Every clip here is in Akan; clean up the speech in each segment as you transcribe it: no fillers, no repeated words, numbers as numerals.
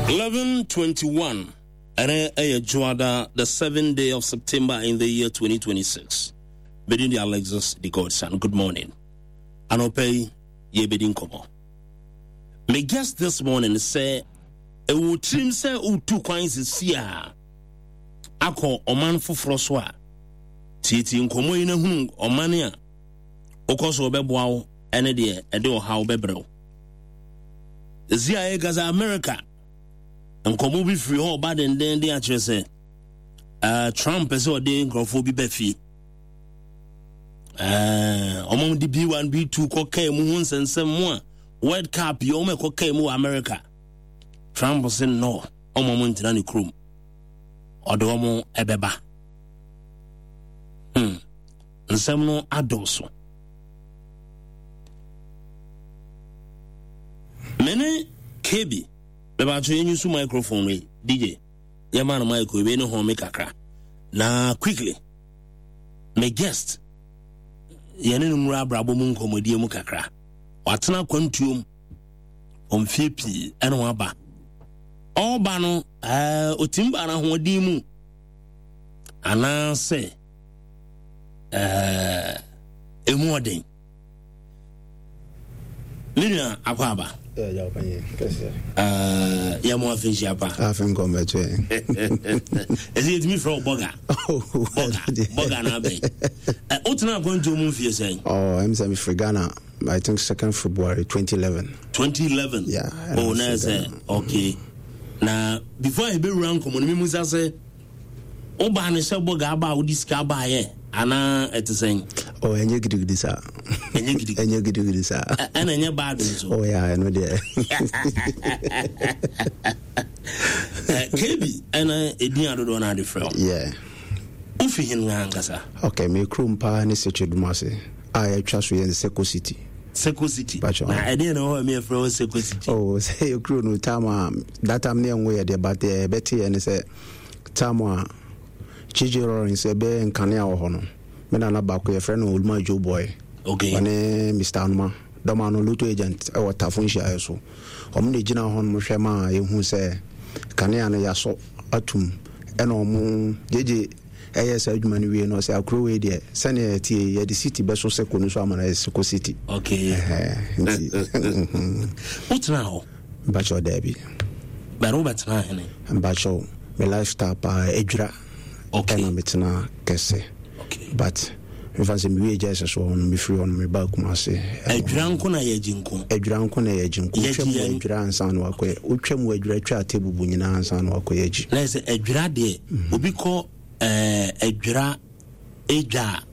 11:21 Ɛnɛ ɛyɛ Dwoada, the 7th day of September in the year 2026. Medin de Alexis the Godson. Good morning. Anɔpa yi yɛbɛdi nkɔmmɔ. Me guest this morning sɛ ɛwɔ tirim sɛ wotu kwan sisi a akɔ ɔman foforɔ so a tietie nkɔmmɔ yi na hunu ɔman a wokɔ so ɔbɛboa wo ɛne deɛ ɛde ɔhaw bɛbrɛ wo. Ɛsi a yɛka sɛ America nkɔmmɔ bi firi hɔ ɔba dendenden akyerɛ sɛ uh, Trump pɛ sɛ ɔde nkurɔfoɔ bi ba fie. Uh, ɔmo de B1 B2 kɔkaa mu ho nsɛnsɛm mu a World Cup yi ɔmo ɛkɔkaa mu wɔ America. Trump se no ɔmo ɔmo ntena ne kurom. Ɔde ɔmo ɛbɛba. Hmm. Nsɛm no adɔɔso. Me ne KB, mebato yɛnyi so microphone wei, DJ, yɛma no mic wei ne home kakra. Na quickly, me guest, yɛne no nwura abrabɔ mu nkɔmmɔdie mu kakra. Watena akwantuom mfie pii ɛna waba. Ɔba no, ɛɛ, ɔtim ba no ahoɔden mu anaasɛ ɛɛ emu ɔden me nua akɔ aba yɛ mo afe nhyia pa afe nkɔmmɛto ɛ ɛsɛ yɛtumi frɛ wo bɔga bɔga bɔga no abɛn wotena akwantuo mu mfie sɛn oh, ɛm sɛ mefiri Ghana I think 2nd February 2011 2011 yeah, oh, na ɛsɛ okay na before yɛbɛwura nkɔmmɔ no memu sa sɛ Wobaa no sɛ bɔga aba a wode sika baeɛ anaa ɛte sɛn? Oh, ɛnyɛ gidigidi saa. Ɛnyɛ gidigidi. Ɛnyɛ gidigidi saa. Ɛna ɛnyɛ bad nso. Oh yeah, ɛno deɛ. KB ɛna ɛdin adodoɔ no ade frɛ wo. Yeah. Wofi hen ankasa? Okay, me kurom paa ne Sekyedumase a yɛatwa so yɛ Seko City. Seko City. Na ɛdeɛ na ɛwɔ hɔ a yɛfrɛ hɔ Seko City? Oh, sɛ yɛ kuro no tam a that time ne yɛnwo yɛ deɛ but deɛ yɛbɛte yɛ ne sɛ Tam a JJ Lawrence bɛyɛ nkanea wɔ hɔ no, me nana baako yɛfrɛ no Oluma Joe Boy. Okay. Ɔne Mr. Anoma, dɔm ano lotto agent wɔ Tafo nhyiaeɛ so. Wɔn na gyina hɔ nom hwɛ ma yɛhu sɛ kanea no yɛasɔ atum. Ɛna wɔn JJ ɛyɛ saa adwuma no wie no ɔsɛ akuro wei deɛ sɛnea ɛteɛ yi yɛde city bɛso seko no so ama no ayɛ seko city. Okay. Nti. Wotena hɔ? Mpakyɛw daabi. But wobɛtena hene? Mpakyɛw me lifestyle paa adwira. Okay. Ɛna metena kɛse. Okay. But mefa sɛ mewie gya ɛsɛ so hɔ no mefiri hɔ no meba Kumase. Adwira nko na yɛ agyi nko? Adwira nko na yɛ agyi nko. Wotwa mu adwira ansa na wakɔ wotwa mu adwira twa atebubu nyinaa ansa na wakɔ yɛ agyi. Na sɛ adwira deɛ obi kɔ ɛɛ adwira edwa a,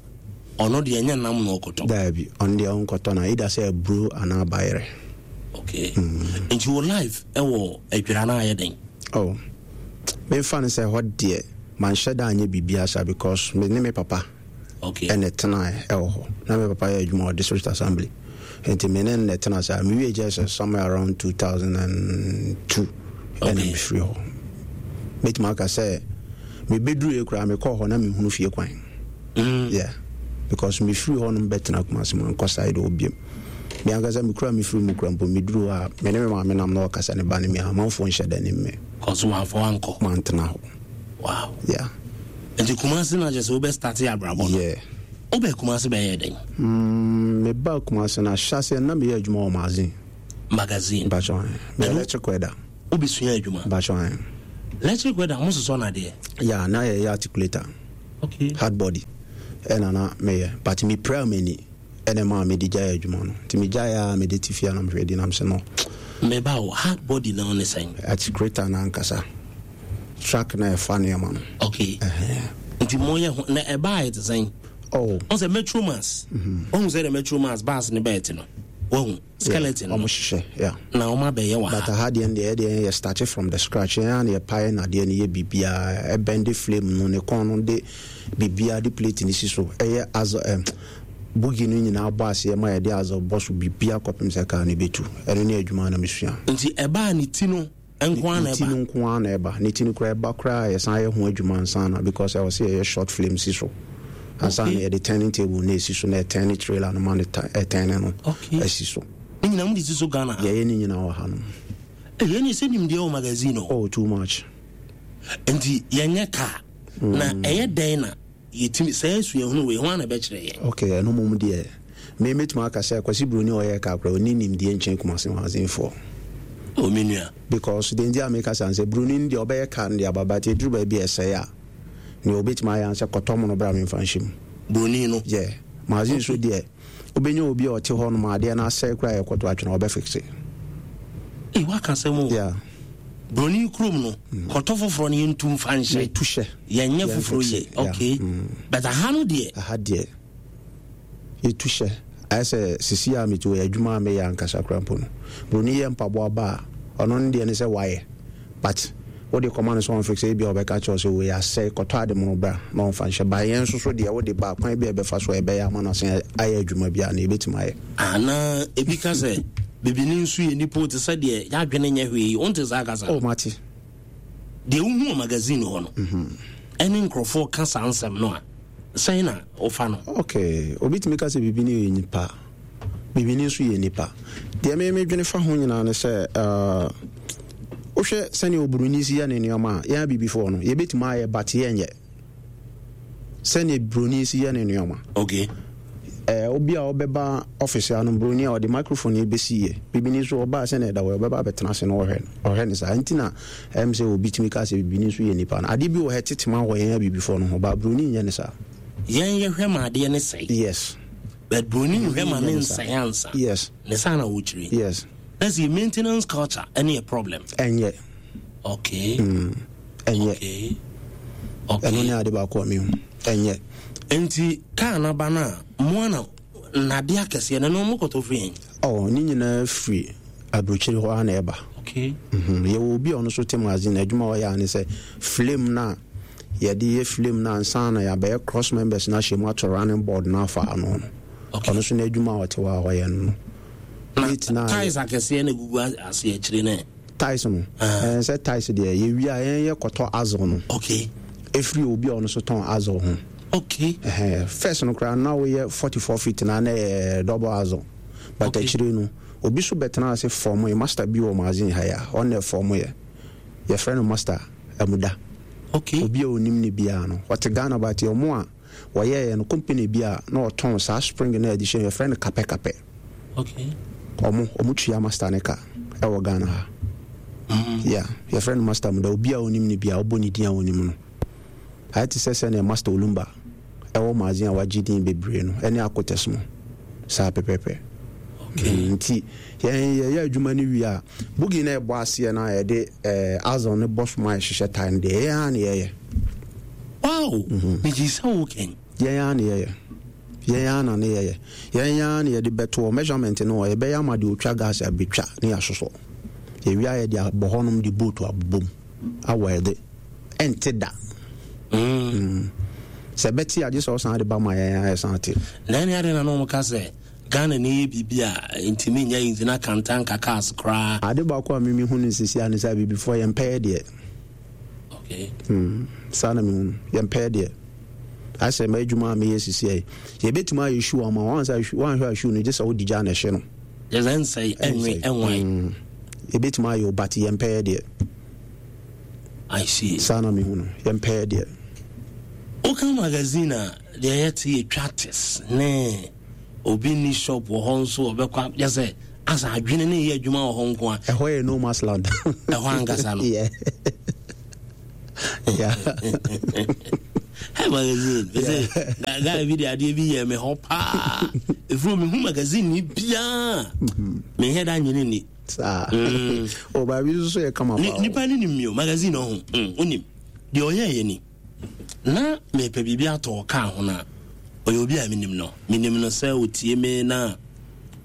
ɔno deɛ ɛnyɛ nam na ɔkɔtɔ. Daabi, ɔno deɛ ɔnkɔtɔ na either sɛ aburo anaa bayerɛ. Okay. Nti wo life ɛwɔ adwira no ayɛ den? Oh, memfa no sɛ hɔ deɛ manhyɛ da anyɛ biribiara saa because me ne me papa okay. ɛna ɛtenae ɛwɔ hɔ. Na me papa yɛ adwuma wɔ district assembly. Nti me ne no na ɛtena saa. Mewie JSS somewhere around 2002 ɛna okay. mefiri hɔ. Mɛtumi aka sɛ mebɛduruiɛ koraa mekɔɔ hɔ na mehunu fie kwan. Mm. Yeah. Because mefiri hɔ nom bɛtena Kumasi mankɔ side hɔ biom. Me ankasa mekura mefiri mu kura mpo meduru hɔ a me ne me maame nam na ɔkasa ne ba ne me a amanfoɔ nhyɛ da nim me. Kɔso wamfa wankɔ. Mantena hɔ. Wow. Yeah. Nti Kumasi na kyerɛ sɛ wobɛ starte abrabɔ no. Yeah. Wobɛɛ Kumasi bɛyɛɛ dɛn? Mm, mebaa Kumasi no ahyɛaseɛ na meyɛ adwuma wɔ magazine. Magazine. Mpakyɛ ɔn. Meyɛ electric welder. Wobɛsua adwuma? Mpakyɛ ɔn. Electric welder, mo sosɔ no adeɛ? Yeah, na yɛyɛ articulator. Okay. Hard body. Ɛna na meyɛ. But mepiraa m'ani ɛna ɛmaa mede gyae adwuma no. Nti megyae a mede te fie a na mehwɛ di na mesɛ no. Meba o, hard body no ne sɛn? Articulator no ankasa. Truck na ɛfa nneɛma no. Okay. Nti mo yɛ ho na ɛbaa yɛ te sɛn? Oh. Ɔn sɛ Metro Mass. Ɔn sɛ de Metro Mass bus ne bɛɛ te no. Wahu skeleton. Ɔmo hyehyɛ yeah. Na ɔmo abɛyɛ wɔ ha. But aha deɛ deɛ ɛdeɛ yɛ start from the scratch. Yɛn a na yɛpae na adeɛ no yɛ biribiara ɛbɛn de flame no ne kɔn no de biribiara de plate no si so ɛyɛ as bogi no nyinaa bɔ aseɛ ma yɛde azɔ bɔ so biribiara kɔpem sɛ kaa no bɛtu. Ɛno ne adwuma na mesua. Nti ɛbaa ne ti no nko ara na ɛba. Ne ti no nko ara na ɛba. Ne ti no koraa ɛba koraa a yɛsan yɛ ho adwuma ansa na because ɛwɔ sɛ yɛyɛ short flame si so ansa na yɛde turning table no esi so na ɛtɛn trailer no ma no ɛtɛn no asi so. Ne nyinaa mo de si so Ghana ha? Yɛyɛ ne nyinaa wɔ ha nom. Ɛyɛ ne sɛ nimdeɛ wɔ magazine o. Oh, too much. Nti yɛnyɛ kaa. Na ɛyɛ dɛn na yɛtumi saa suahunu wei ho ana bɛkyerɛ yɛn? Okay, ɛno mmom deɛ me mɛtumi aka sɛ Kwasi Broni a ɔyɛ kaa koraa ɔnni nimdeɛ nkyɛn Kumasi magazinefoɔ. Oh, me nua. Because deɛ nti a meka saa ne sɛ Broni no deɛ ɔbɛyɛ kaa no de aba, but ɛduru baabi a ɛsɛe a, nea ɔbɛtumi ayɛ ara ne sɛ kɔtɔ mono bra memfa nhyɛ mu. Broni no? Yeah. Magazine nso deɛ wobɛnya obi a ɔte hɔ nom a adeɛ no asɛe koraa a yɛkɔto atwene a ɔbɛfixe. Ei, woaka asɛm o. Yeah. Broni kurom no, kɔtɔ foforɔ no yɛntu mfa nhyɛ. Yɛtu hyɛ. Yɛnyɛ foforɔ yie. Okay. But aha no deɛ. Aha deɛ. Yɛtu hyɛ. Ayɛ sɛ sisi a mete wɔ adwuma a meyɛ ankasa koraa mpo no. Broni yɛ mpaboa ba a, ɔno ne deɛ ne sɛ wayɛ. But wode kɔma no sɛ ɔnfixe ebia ɔbɛka kyerɛ wo sɛ wei asɛe, kɔtɔ ade mono bra na ɔmfa nhyɛ. But yɛn nso so deɛ wode ba a, kwan bi a yɛbɛfa so a yɛbɛyɛ ama no asan ayɛ adwuma biara no, yɛbɛtumi ayɛ. Anaa ebi ka sɛ, Bibini nso yɛ nipa o, te sɛ deɛ y'adwene nyɛ hwee yi. Wonte saa kasa no? Oh, mate. Deɛ wohu wɔ magazine hɔ no, ɛne nkurɔfoɔ ka saa nsɛm no a, sɛn na wofa no? Ok, obi tumi ka sɛ bibini yɛ nipa, bibini nso yɛ nipa. Deɛ me medwene fa ho nyinaa ne sɛ, uh, wohwɛ sɛnea oburoni si yɛ ne nneɛma a, yɛn abibifoɔ no, yɛbɛtumi ayɛ but yɛnyɛ. Sɛnea buroni si yɛ ne nneɛma. Okay. Eh, obi a ɔbɛba office ano buroni a ɔde microphone yi bɛsi yɛ bibini nso ɔbaa sɛnea ɛda hɔ ɔbɛba abɛtena ase na ɔhwɛ ɔhwɛ ne saa nti na ɛm sɛ obi tumi ka sɛ bibini nso yɛ nipa no adeɛ bi wɔ hɛ tetema wɔ yɛn abibifoɔ no ho ba buroni nyɛ ne saa. Yɛn yɛhwɛ ma adeɛ ne sɛe. Yes. But buroni nhwɛ ma ne nsɛe ansa. Yes. Ne saa na wɔkyerɛ. Yes. That's your maintenance culture ɛne yɛ problem. Ɛnyɛ. Okay. Ɛnyɛ. Okay. Okay. Ɛno ne ade baako a mehu. Ɛnyɛ. Nti kaa no aba no a, mo ana nnadeɛ akɛseɛ no, ɛno mokɔtɔ firi he? Oh, ne nyinaa firi aburokyire hɔ ara na ɛba. Okay. Mm-hmm. Yɛwɔ obi a ɔno nso te magazine, adwuma a ɔyɛ a ne sɛ flame no a yɛde yɛ flame no ansa na yɛabɛyɛ cross members no ahyɛ mu ato running board no afa ano no. Okay. Ɔno nso n'adwuma a ɔte hɔ a ɔyɛ no no. Na tiles akɛseɛ na ɛgugu ase akyire no ɛ? Tiles no ɛɛ sɛ tiles deɛ yɛwie a yɛn yɛ kɔtɔ axle no. Okay. Efiri obi a ɔno nso tɔn axle ho. Okay. Ɛhɛn first no koraa na woyɛ 44 feet na na ɛyɛ double axle but Okay. akyire no obi so bɛtena ase fɔm yɛ master bi wɔ magazine ha yi a ɔno na ɛfɔm yɛ yɛfrɛ no master Amuda. Okay. Obi a onim no biara no ɔte Ghana but ɔmo a Wɔyɛeɛ no, company bi a na ɔtɔn saa spring no a yɛde hyɛ mu, yɛfrɛ no kapɛ kapɛ. Okay. Ɔmo, ɔmo tua master ne ka ɛwɔ Ghana ha. Yeah, yɛfrɛ no master Muda. Obi a onim no biara, wobɔ ne din a onim no. Ayɛ te sɛ sɛnea Master Olumba ɛwɔ magazine a wagye din bebree no, ɛne Akotes mo. Saa pɛpɛpɛ. Okay. Nti, yɛn yɛyɛ adwuma no wie a, boogie na ɛbɔ aseɛ no a yɛde eh, axle no bɔ so ma yɛhyehyɛ tae no deɛ, yɛn ara na yɛyɛ. Wow! Megye sɛ wo kɛn. Yɛn ara na yɛyɛ. Yɛn ara na ne yɛyɛ. Yɛn ara na yɛde bɛtoɔ. Measurement no wɔ yɛbɛyɛ ama deɛ ɔtwa gas abɛtwa ne yɛasosɔ. Yɛwie a yɛde abɔ hɔnom de boat abobom awɛlde. Ɛnte da. Sɛ ɛbɛte a gye sɛ ɔsan de ba ma yɛn a yɛsan te. Na ɛne adɛn na na wɔka sɛ Ghana ni yɛ biribi a ntumi nyɛ nti na Kantanka cars koraa. Ade baako a me mehu no sisi a ne sɛ abibifoɔ yɛmpɛyɛ deɛ. Okay. Saa na mehu no. Yɛmpɛɛ deɛ. Ayɛ sɛ m'adwuma a meyɛ sisi yi. Yɛbɛtumi ayɛ shoe ama wo. Woanhwɛ a shoe no gye sɛ wode gya na ɛhye no. Gye sɛ ɛnsɛe, ɛnwe, ɛnwan. Yɛbɛtumi ayɛ o but yɛmpɛɛ deɛ. I see. Saa na mehu no. Yɛmpɛɛ deɛ. Woka magazine a, deɛ yɛte yɛ twates ne obi nni shop wɔ hɔ nso ɔbɛkɔ yɛ sɛ asa adwene ne yɛ adwuma wɔ hɔ nko a. Ɛhɔ yɛ no man's land. Ɛhɔ ankasa no. Yeah. Yeah. Hey, magazine. Yeah. Sɛ guy bi de adeɛ bi yɛ me hɔ paa. Efuru mi hu magazine ni biara. Me hɛ da nyini ni. Saa. O baabi nso so yɛ kama paa. Nipa ni nim mi o magazine ɔho. Onim. Deɛ ɔyɛ yɛ ni. Na mepɛ biribi atɔ wɔ kaa ho no a, ɔyɛ obi a menim no. Menim no sɛ ɔtie me na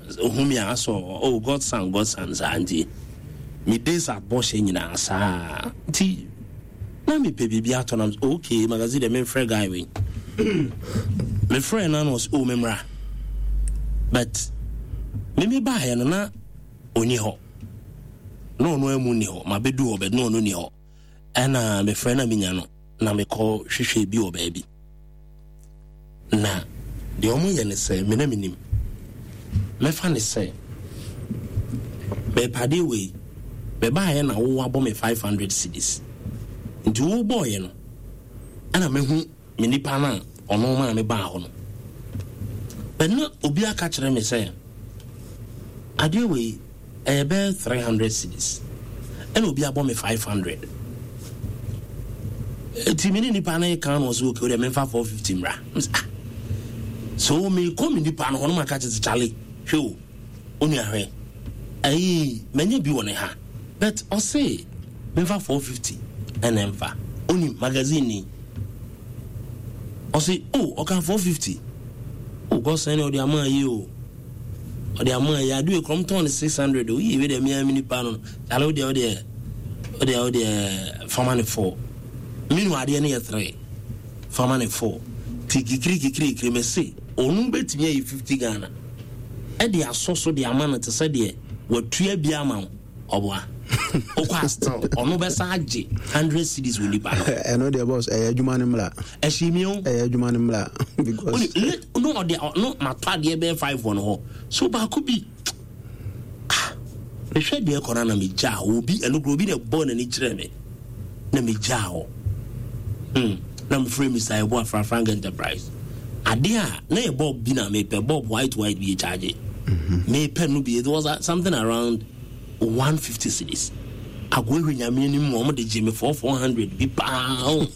ɔhu me a asɔ, oh, Godson, Godson saa nti. Me days at bɔhyɛ nyinaa saa nti na mepɛ biribi atɔ na okay, magazine deɛ memfrɛ guy wei. Mefrɛ no na ɔsɛ, oh, memmra. But me mebaeɛ no na ɔni hɔ. Na ɔno amu nni hɔ. Mabɛdu hɔ but na ɔno nni hɔ. Ɛna mefrɛ na menya no na mekɔ hwehwɛ bi wɔ baabi. Na deɛ wɔn yɛ ne sɛ me na menim. Mɛfa ne sɛ mɛpadeɛ wei. Mebaeɛ na wo abɔ me 500 cedis. Nti wo bɔɔyɛ no, ɛna mehu me nipa no a ɔno maa me baa hɔ no. But na obi aka kyerɛ me sɛ, adeɛ wei ɛyɛ bɛyɛ 300 cedis. Ɛna obi abɔ me 500. Eti me ne nipa no ka no ɔsɛ okay, wodeɛ memfa 450 mmra. Ah. So mekɔ me nipa no hɔ no maka kyerɛ sɛ Charlie, hwɛ o. Onua hwɛ ayii manya bi wɔ ne ha but ɔse menfa 450 ɛna ɛmfa onim magazine ni ɔse oh ɔka 450 oh God sɛn ɔde ama ayi o ɔde ama ayi ade wei kɔm tɔn ne 600 o yie wei deɛ mea me nipa no kyale wo deɛ wo deɛ wo deɛ wo deɛ fama ne 4 menu adeɛ no yɛ 3 fama ne 4 ti kikiri kikiri kikiri me se ɔno bɛtumi ayi 50 Ghana de asɔ so de ama no te sɛ deɛ watua bi ama wo ɔboa wokɔ a still ɔno bɛsa agye 100 cedis wɔ nipa no. Ɛno deɛ boss ɛyɛ adwuma no mmla. Ɛhyɛ mi o. Ɛyɛ adwuma no mmla because. No ɔde no matɔ adeɛ bɛyɛ 5 wɔ no hɔ so baako bi ah mehwɛ deɛ kɔ no na megyaa obi ɛno kuro obi na ɛbɔɔ n'ani kyerɛ me na megyaa hɔ hmm na mefrɛ Mr. Yeboah fra Frank Enterprise adeɛ a na yɛ bulb bi na mepɛ bulb white white bi yɛ charge mepɛ no bi it was something around 150 cedis agoa hwɛ nyame anim wɔn de gye me 4 400 bi paa o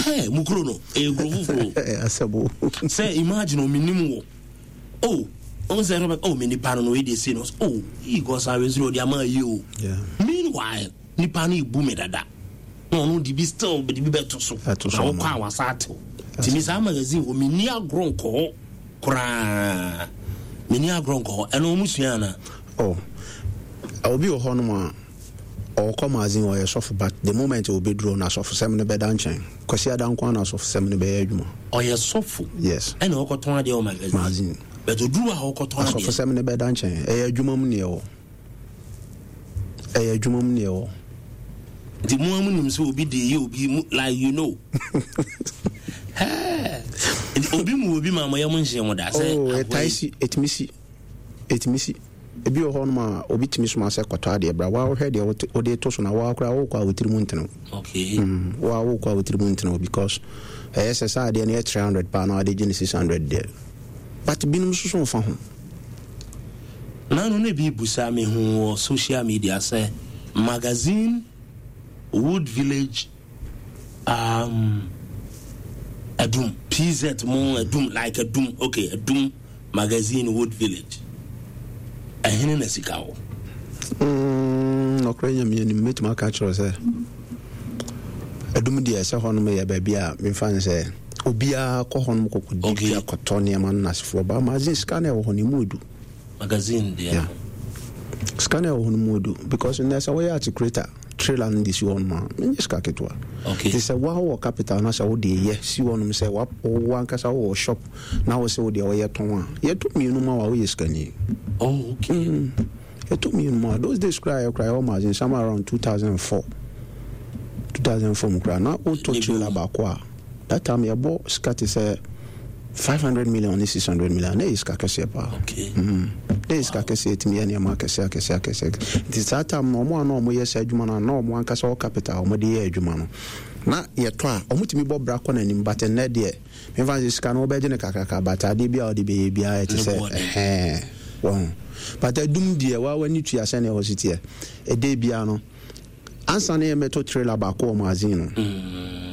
hey, mu kuro no ɛyɛ kuro foforɔ sɛ imagine omenim wɔ oh ɔn sɛ ɛrɛ oh me nipa no no wei deɛ sei no oh yi kɔ saa wei nso ɔde ama yi o meanwhile nipa no ebu me dada na ɔno de bi still de bi bɛto so na wokɔ a wasa atew tìmi saa magazine wɔ menni agorɔ nkɔ hɔ koraa menni agorɔ nkɔ hɔ ɛno ɔmo sua ana. Oh obi wɔ hɔ nom a ɔkɔ magazine ɔyɛ sɔfo but the moment ɔbɛduru no asɔfosɛm no bɛda nkyɛn. Kwasi Ada nko ara na asɔfosɛm no bɛyɛ adwuma. Ɔyɛ sɔfo. Yes. Ɛna ɔkɔtɔn adeɛ wɔ magazine. Magazine. But oduru a ɔkɔtɔn adeɛ. Asɔfosɛm no bɛda nkyɛn. Ɛyɛ adwuma mu neɛ wɔ. Ɛyɛ adwuma mu neɛ wɔ. Nti mo a mo nim sɛ obi de yɛ obi mu like you know. Nti obi mu obi ma mo yɛ mo nhyɛ mo da sɛ. Oh, ɛtae si, ɛtumi si. Ɛtumi si. Ebi wɔ hɔnom a, obi tumi soma sɛ kɔtɔ adeɛ bra. Waa wohwɛ deɛ wode reto so no a, waa koraa wokɔ a wo tiri mu ntene wo. Okay. Mm, waa wokɔ a wo tiri mu ntene wo because ɛyɛ sɛ saa adeɛ no yɛ 300 paa na wade gye no 600 deɛ. But binom nso so mfa ho. Nano na bi busa me hu wɔ social media sɛ magazine Wood Village um, Adum PZ mo Adum like Adum okay Adum Magazine Wood Village ɛhene na sika wɔ. Mm, nɔkorɛ Nyame anim mɛtumi aka kyerɛ sɛ Adum deɛ sɛ hɔnom yɛ baabi a memfa ne sɛ obiara kɔ hɔnom kɔkɔdi okay. dwa kɔtɔ nneɛma no nasefoɔ ba magazine sika no ɛwɔ hɔ no ɛmu edu magazine deɛ yeah. Sika no ɛwɔ hɔ no mu edu because nnɛ sɛ woyɛ articulator trailer no de si hɔ nom a menyɛ sika ketewa. Okay. Te sɛ woa wɔ capital na sɛ wode yɛ si hɔ nom sɛ wo ankasa wowɔ shop na wo sɛ wo deɛ wɔyɛ tɔn a yɛtɔ mmienu ma wa woyɛ sikani. Oh, okay. Yɛtɔ mmienu ma those days koraa yɛ koraa yɛwɔ magazine somewhere around 2004 2004 mu koraa na wotɔ trailer baako a that time yɛbɔ sika te sɛ 500 million ne 600 million na ɛyɛ sika kɛseɛ paa. Okay. Na ɛyɛ sika kɛseɛ ɛtumi yɛ nneɛma akɛseɛ akɛseɛ akɛseɛ nti saa time no ɔmo a na ɔmo yɛ saa adwuma no a na ɔmo ankasa wɔ capital a ɔmo de yɛ adwuma no na yɛtɔ a ɔmo tumi bɔ bra kɔ n'anim but nnɛ deɛ memfa sɛ sika no wobɛgye no kakraka but adeɛ bi a wode bɛyɛ biara ɛte sɛ ɛhɛn wɔn but adum deɛ waa w'ani tua sɛnea ɛhɔ si teɛ ɛdɛ biara no ansa na yɛmmɛtɔ trailer baako wɔ magazine no.